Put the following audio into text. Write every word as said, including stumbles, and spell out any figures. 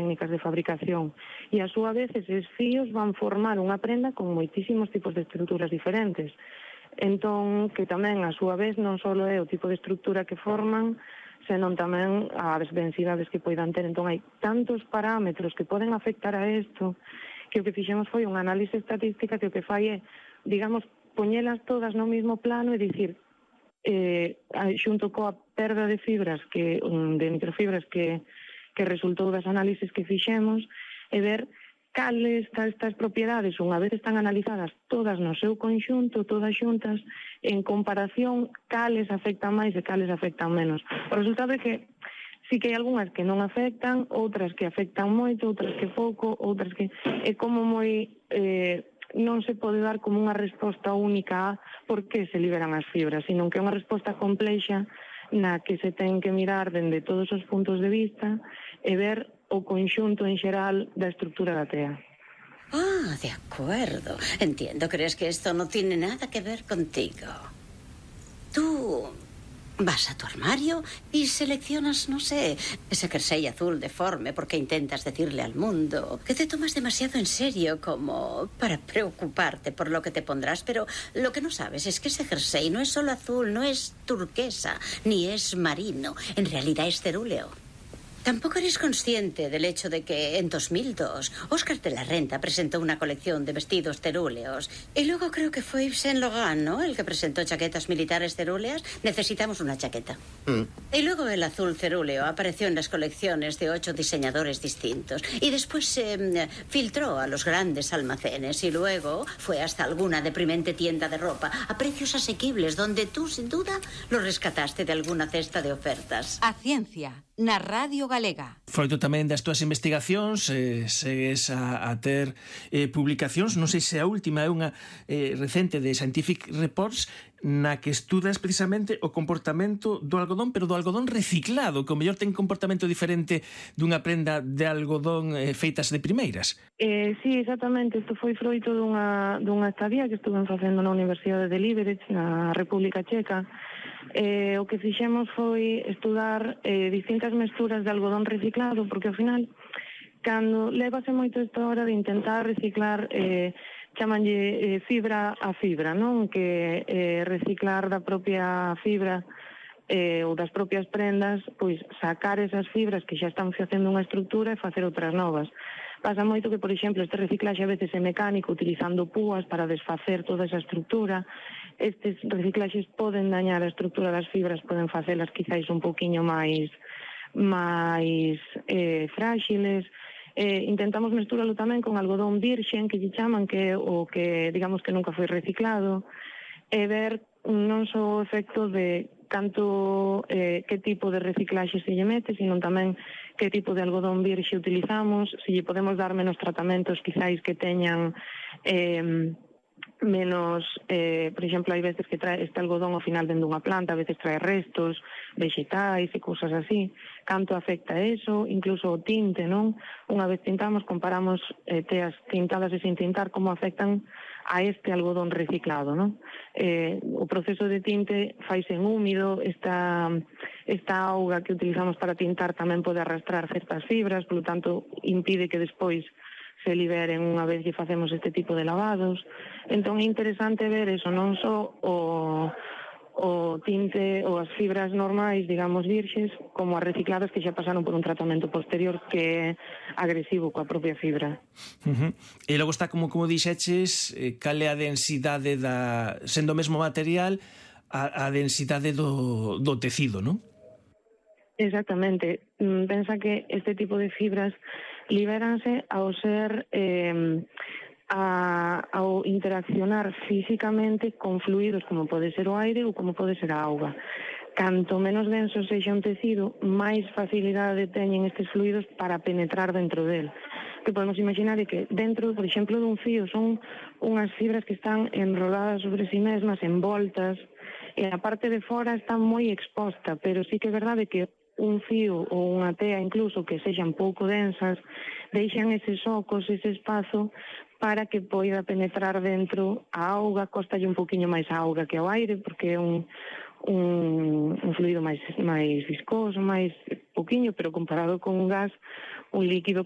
técnicas de fabricación. E a súa vez, eses fíos van formar unha prenda con moitísimos tipos de estruturas diferentes. Entón, que tamén, a súa vez, non só é o tipo de estrutura que forman, senón tamén as densidades que poidan ter. Entón, hai tantos parámetros que poden afectar a isto que o que fixemos foi unha análise estatística que o que fai é, digamos, poñelas todas no mesmo plano e dicir, eh, xunto coa perda de fibras, que de microfibras que, que resultou das análises que fixemos, e ver cales estas propiedades, unha vez están analizadas todas no seu conxunto, todas xuntas, en comparación, cales afectan máis e cales afectan menos. O resultado é que sí que hai algunhas que non afectan, outras que afectan moito, outras que pouco, outras que... É como moi... Eh, non se pode dar como unha resposta única a por que se liberan as fibras, sino que é unha resposta complexa na que se ten que mirar dende todos os puntos de vista e ver o conxunto en xeral da estrutura da tea. Ah, de acuerdo. Entiendo, crees que esto no tiene nada que ver contigo. Tú vas a tu armario y seleccionas, no sé, ese jersey azul deforme porque intentas decirle al mundo que te tomas demasiado en serio como para preocuparte por lo que te pondrás, pero lo que no sabes es que ese jersey no es solo azul, no es turquesa, ni es marino, en realidad es cerúleo. Tampoco eres consciente del hecho de que en dos mil dos Óscar de la Renta presentó una colección de vestidos cerúleos y luego creo que fue Yves Saint Laurent, ¿no?, el que presentó chaquetas militares cerúleas. Necesitamos una chaqueta. Mm. Y luego el azul cerúleo apareció en las colecciones de ocho diseñadores distintos y después se eh, filtró a los grandes almacenes y luego fue hasta alguna deprimente tienda de ropa a precios asequibles donde tú, sin duda, lo rescataste de alguna cesta de ofertas. A ciencia na Radio Galega. Froito tamén das túas investigacións, eh, segues a, a ter eh, publicacións, non sei se a última é unha eh, recente de Scientific Reports, na que estudas precisamente o comportamento do algodón, pero do algodón reciclado, que o mellor ten comportamento diferente dunha prenda de algodón eh, feitas de primeiras. Eh, sí, exactamente. Isto foi froito dunha, dunha estadía que estuven facendo na Universidade de Liberec, na República Checa. Eh, o que fixemos foi estudar eh, distintas mesturas de algodón reciclado, porque ao final, cando levase moito esta hora de intentar reciclar, eh, chamanlle eh, fibra a fibra, non? Que eh, reciclar da propia fibra eh, ou das propias prendas, pois sacar esas fibras que xa están facendo unha estrutura e facer outras novas. Pasa moito que, por exemplo, este reciclaxe a veces é mecánico, utilizando púas para desfacer toda esa estrutura. Estes reciclaxes poden dañar a estrutura das fibras, poden facelas quizáis un poquinho máis máis eh, fráxiles. Eh, intentamos mesturalo tamén con algodón virxen, que lle chaman, que é o que, digamos, que nunca foi reciclado, e ver non só o efecto de tanto eh, que tipo de reciclaxe se lle mete, sino tamén que tipo de algodón virxe utilizamos, se lle podemos dar menos tratamentos quizáis que teñan eh, menos, eh, por exemplo, hai veces que trae este algodón ao final dentro dunha planta, a veces trae restos vegetais e cousas así. Canto afecta eso, incluso o tinte, non? Unha vez tintamos, comparamos eh, teas tintadas e sin tintar, como afectan a este algodón reciclado, non? Eh, o proceso de tinte faise en húmido, esta, esta auga que utilizamos para tintar tamén pode arrastrar certas fibras, polo tanto, impide que despois se liberen unha vez que facemos este tipo de lavados. Entón é interesante ver eso, non só o, o tinte ou as fibras normais, digamos, virxes, como as recicladas que xa pasaron por un tratamento posterior que é agresivo coa propia fibra. Uh-huh. E logo está, como como dixeches, eh, cal é a densidade da, sendo o mesmo material, a, a densidade do, do tecido, non? Exactamente. Pensa que este tipo de fibras libéranse ao ser eh, a, ao interaccionar físicamente con fluidos como pode ser o aire ou como pode ser a auga. Canto menos denso sexa un tecido, máis facilidade teñen estes fluidos para penetrar dentro del. Que podemos imaginar é que dentro, por exemplo, dun fío son unhas fibras que están enroladas sobre si mesmas, envoltas, e a parte de fora está moi exposta, pero sí que é verdade que un fío ou unha tea incluso que sexan pouco densas, deixan eses ocos, ese espazo para que poida penetrar dentro a auga, costalle un poquinho máis a auga que ao aire, porque é un, un, un fluido máis, máis viscoso, máis poquinho, pero comparado con un gas, un líquido